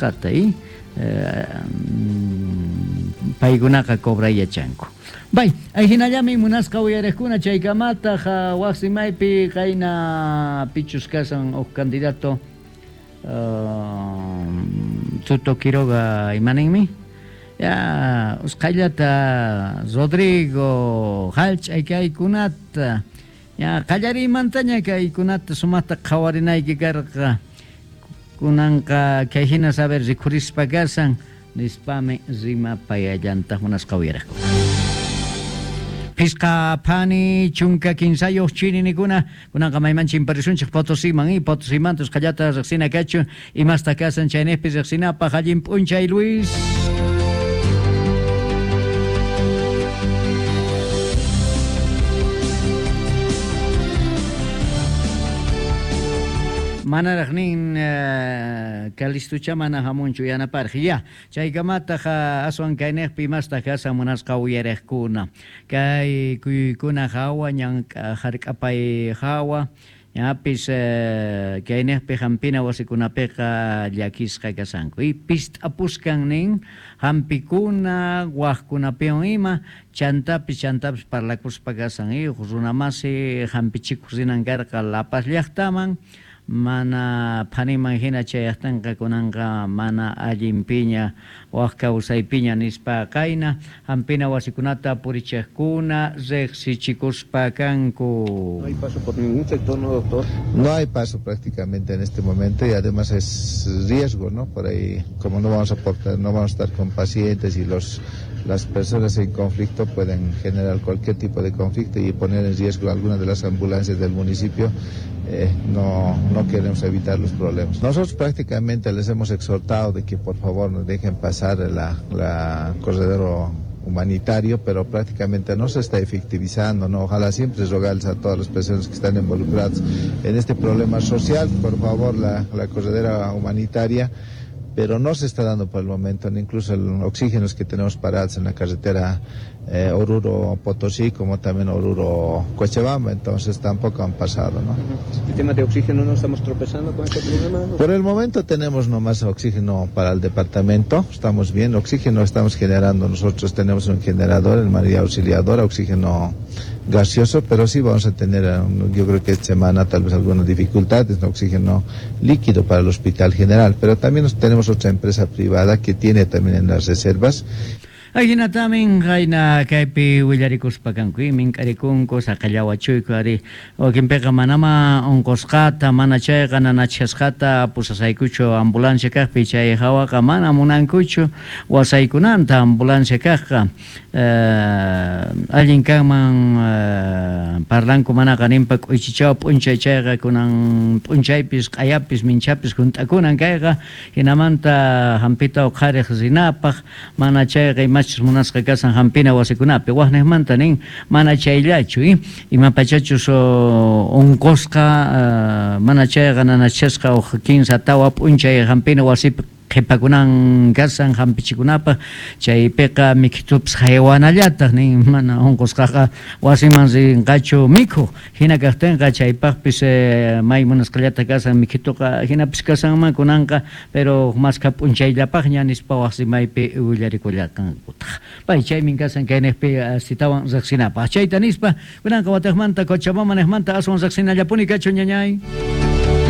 munasqata y paykunaqa cobray yachanku. Bay, ayhinallami munasqa uyariqkuna chaykamataq waq rimaypi qayna pichus kasan huk candidato Tuto Quiroga imaninmi? Ya, usqhayllata Rodrigo hallch'ay kaykunata ya qallariymantaña kaykunata sumaqta qhawarinayki karqa kunanqa kayhina saber rikhurispa kasan nispami rimapayallantaq munasqa uyariqkuna. Phisqa phani chunka kinsayuq chirinikuna kunanqa mayman chimparisunchik Potosiman y Potosimanta usqhallata riqsina kachun imasta kasan chayniqpi riqsinapaq allin p'unchay Luis. Manaraq nin Calistucha mana hamunchu yanaparq ya chaykamataq aswan kayniqpi imastaq kasan munasqa uyariqkuna kay kuyuykuna hawa ñan hark'apay hawa ñapis kayniqpi hampina wasikunapiqa llakisqa kasanku y pist'apuskan nin hampikuna waqkunapiwan ima chantapis chantapis parlakuspa kasan y runamasi hampichikuq rinan karqa La Paz llaqtaman mana phaniman hina chayaqtinqa kunanqa mana allinpiña waq kawsaypiña nispa qayna hampina wasikunata purichiqkuna riqsichikuspa kanku. No hay paso por ningún sector, ¿no, doctor? No hay paso prácticamente en este momento y además es riesgo, ¿no? Por ahí, como no vamos a portar, no vamos a estar con pacientes y las personas en conflicto pueden generar cualquier tipo de conflicto y poner en riesgo alguna de las ambulancias del municipio. No queremos evitar los problemas. Nosotros prácticamente les hemos exhortado de que por favor nos dejen pasar la corredor humanitario, pero prácticamente no se está efectivizando, ¿no? Ojalá siempre rogarles a todas las personas que están involucradas en este problema social, por favor, la corredera humanitaria, pero no se está dando por el momento, ni incluso el oxígeno que tenemos parados en la carretera Oruro-Potosí, como también Oruro-Cochabamba, entonces tampoco han pasado, ¿no? ¿El tema de oxígeno no estamos tropezando con este problema? Por el momento tenemos nomás oxígeno para el departamento, estamos bien, oxígeno estamos generando, nosotros tenemos un generador en María Auxiliadora, oxígeno gaseoso, pero sí vamos a tener, yo creo que esta semana tal vez algunas dificultades, ¿no? Oxígeno líquido para el Hospital General, pero también tenemos otra empresa privada que tiene también en las reservas. Ahinatamin qayna kaypi willarikuspa kanku, mink'arikunku saqallawachuyku ari wakinpiqa manama unqusqata mana chayqa nanachasqata pusasaykuchu ambulancia kaqpi chay hawaqa mana munankuchu wasaykunanta ambulancia kaqqa allin kanman parlanku manaqa ninpa k'uychichaw p'unchay chayqa kunan p'unchaypis q'ayapis minchapis hunt'akunan kayqa hinamanta hampita uqhariq rinapaq mana chayqa imachus munasqa kasan hampina wasikunapi waqniqmanta nin mana chayllachu imapachachus unqusqa mana chayqa nanachasqa uq kinsa tawa p'unchay hampina wasipi qhipakunan kasan hampichikunapaq chaypiqa mikhitupis haywanallataq nin mana unqusqaqa wasiman rinqachu mikhuq hina kaqtinqa chaypaqpis may munasqallata kasan mikhituqa hinapis kasanman kunanqa pero maskha p'unchayllapaqña nispa waq rimaypi willarikullaqankutaq pay chaymin kasan kayniqpi asitawan riqsinapaq chayta nispa kunanqa wataqmanta Cochabamba niqmanta aswan riqsinallapuni kachun ñañay.